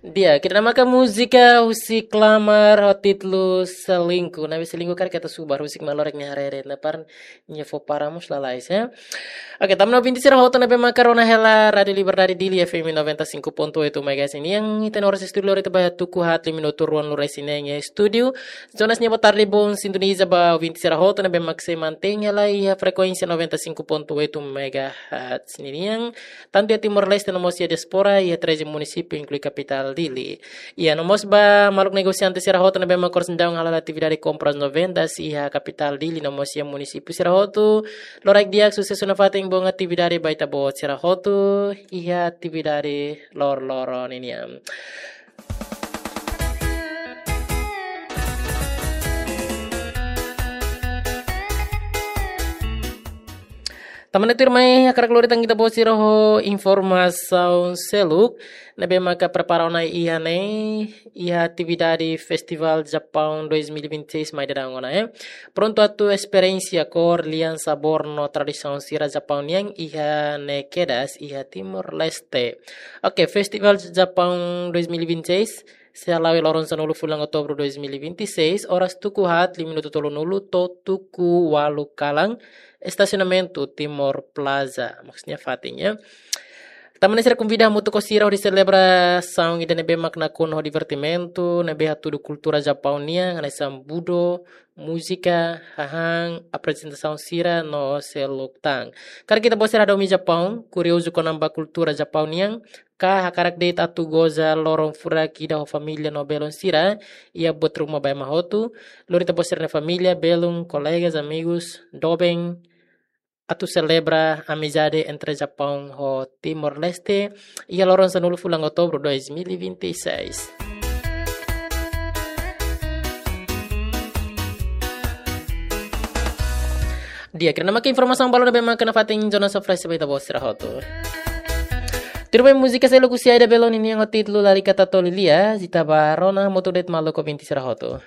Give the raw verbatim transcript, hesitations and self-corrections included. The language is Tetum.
Di'ak, ida-ne'e maka múzika husi Klamar ho títulu Selingkuh. Ne'ebé selingkuh karik ita subar, husik mak loron nia haree, na par nia fó para mós lalais, ya. Oke, tama ona ouvinte sira hotu ne'ebé maka rona hela Rádio Liberdade Dili F M noventa e cinco ponto oito megahertz nian, ita-nia oras estúdiu lori ita ba iha tuku haat liu minutu ruanulu-resin-neen iha estúdiu. Jonas nia boa tarde, bom sintonia ba ouvinte sira hotu ne'ebé mak sei mantein hela iha frekuénsia noventa e cinco ponto oito megahertz ninian. Tantu iha Timor-Leste no mós iha diáspora, iha treze munisípiu, inklui kapitál Dili. Iha no mós ba maluk negosiante sira hotu ne'ebé mak oras ne'e daudaun hala'o atividade kompras no vendas iha kapitál Dili no mós iha munisípiu sira hotu. Loraik di'ak, susesu nafatin, bom atividade ba ita-boot sira hotu iha atividade loroloron ninian. Tama ona tuirmai, hakarak lori tan ita-boot sira ho informasaun seluk ne'ebé maka prepara ona iha ne'e, iha atividade Festival Japaun dois mil e vinte e seis mai daudaun ona, eh. Prontu atu esperiénsia kór, lian, sabór no tradisaun sira Japaun nian iha ne'e kedas iha Timor-Leste. Oke, Festival Japaun dois mil e vinte e seis sei hala'o iha loron sanulu fulan Outubru dois mil e vinte e seis, oras tuku haat liu minutu tolunulu to'o tuku ualu kalan, estasionamentu Timor Plaza, maksudnya fatin, ya. Tama ona sira konvida hamutuk ho sira hodi selebrasaun ida ne'ebé mak nakonu ho divertimentu, ne'ebé hatudu kultura Japaun nian, hanesan budo, múzika, hahán, aprezentasaun sira no seluk tan. Karik ita-boot sira hadomi Japaun, kuriozu kona-ba kultura Japaun nian, ka hakarak de'it atu goza loron furak ida ho família no belun sira, iha buat ruma ba ema hotu, lori ita-boot sira-nia família, belun, kolegas, amigus, doben, atu selebra amizade entre Japaun ho Timor-Leste, iha loron sanulu fulan Outubru dois mil e vinte e seis. Di'ak, ida-ne'e maka informasaun balun ne'ebé maka nafatin Jonas oferese ba ita-boot sira hotu. Tuirmai múzika seluk husi Aida Bello ninian ho títulu Lalika Tatoli Lia, ita ba rona hamutuk de'it maluk ouvinte sira hotu.